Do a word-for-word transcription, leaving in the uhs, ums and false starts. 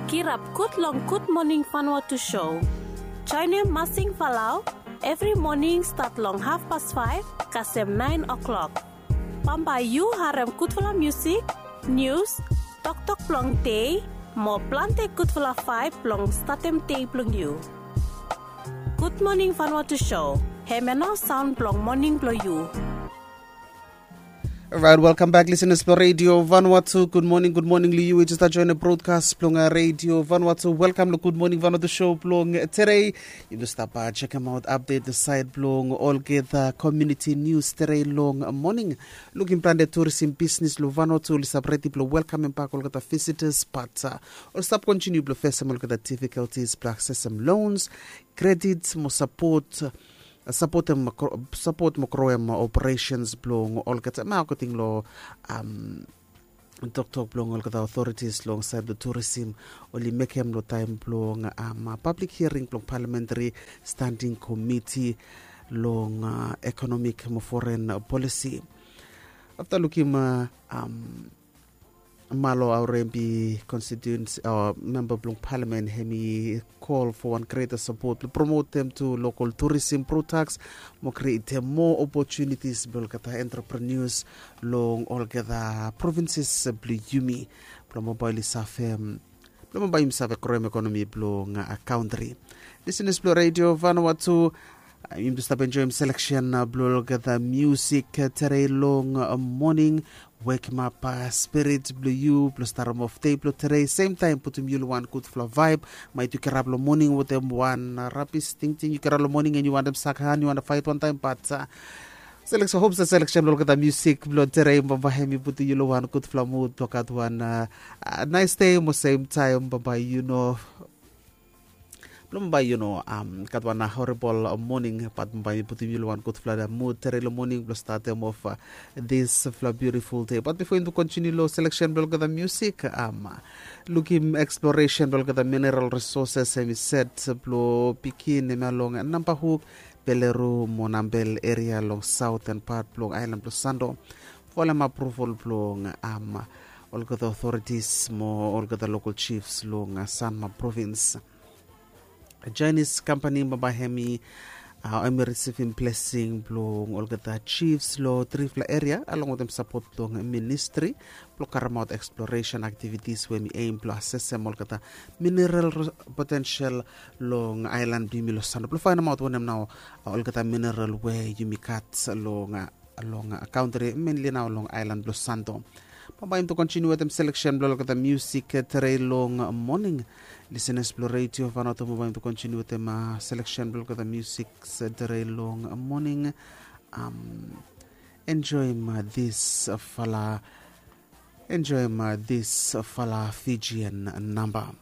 Kirap gud long Gud Moning Vanuatu show. Joenem Masing Falau evri moning stat long hafpas faef kasem naen o'klok. Bambae yu harem gudfala musik, nius, toktok blong dei, mo plante gudfala vaeb blong statem dei blong yu. Gud Moning Vanuatu show, hemia nao saon blong moning blong yu. Right, welcome back, listeners blong Radio Vanuatu. Gud moning, gud moning long yu we jes stap joenem brodkas blong Radio Vanuatu. Welkam long Gud Moning Vanuatu show blong tede. Yumi stap jekemaot apdet long saed blong olgeta komuniti nius tede long moning. Lukim plante turisim bisnis long Vanuatu oli stap redi blong welkamem bak olgeta visitas, bat oli stap kontiniu blong fesem olgeta difikaltis blong aksesem lons, kredit mo sapot, sapotem, sapot mo groem operesens blong olgeta, hemia akoding long toktok blong olgeta otoritis long saed blong turisim oli mekem long taem blong pablik hiaring blong palamentari standing komiti long ekonomik mo foren polisi. Afta lukim Malo Aurembi konstituens, memba blong palamen, hemi kol fo wan greta sapot blong promotem tu lokal turisim prodaks mo krietem moa opotunitis blong olgeta entrepreneurs long olgeta provinses blong yumi, blong bambae oli save, blong bambae yumi save groem ekonomi blong kantri. Lisenas blong Radio Vanuatu, yumi stap enjoem seleksen blong olgeta musik tede long moning. Wekemap spirit blong yu blong starem of dei blong tede, semtaem putum yu long wan gudfala vaeb. Maet yu kirap long moning wetem wan rabis tingting, yu kirap long moning and yu wantem sak han, yu wantem faet wantaem, bat seleksen, hop se seleksen blong olgeta musik blong tede bambae hemi putum yu long wan gudfala mud blong gat wan naes dei, mo semtaem bambae yu no, blong bambae yu no gat wan horibol moning, bat bambae hemi putum yu long wan gudfala mud tede long moning blong statem of disfala biutiful dei. Bat bifo yumi kontiniu long seleksen blong olgeta musik, lukim eksploresen blong olgeta mineral risoses hemi set blong bigin hemia long Nambahuk, Peluru mo Nambel eria long saoten pat blong aelan blong Santo. Folem apruval blong olgeta otoritis mo olgeta lokal jifs long Sanma provins. Jainis kampani bambae hemi, hemi risivim blesing blong olgeta jifs long trifala eria along wetem sapot blong ministri blong karemaot eksploresen aktivitis we hemi eim blong asesem olgeta mineral potensel long aelan blong yumi long Santo blong faenemaot wanem nao olgeta mineral we yumi gat long long kantri, menli nao long aelan blong Santo. Bambae yumi tu kontiniu wetem seleksen blong olgeta musik tede long moning. Lisenas blong Radio Vanuatu, bambae yumi tu kontiniu wetem seleksen blong olgeta musik tede long moning. Enjoem disfala, enjoem disfala Fijian namba.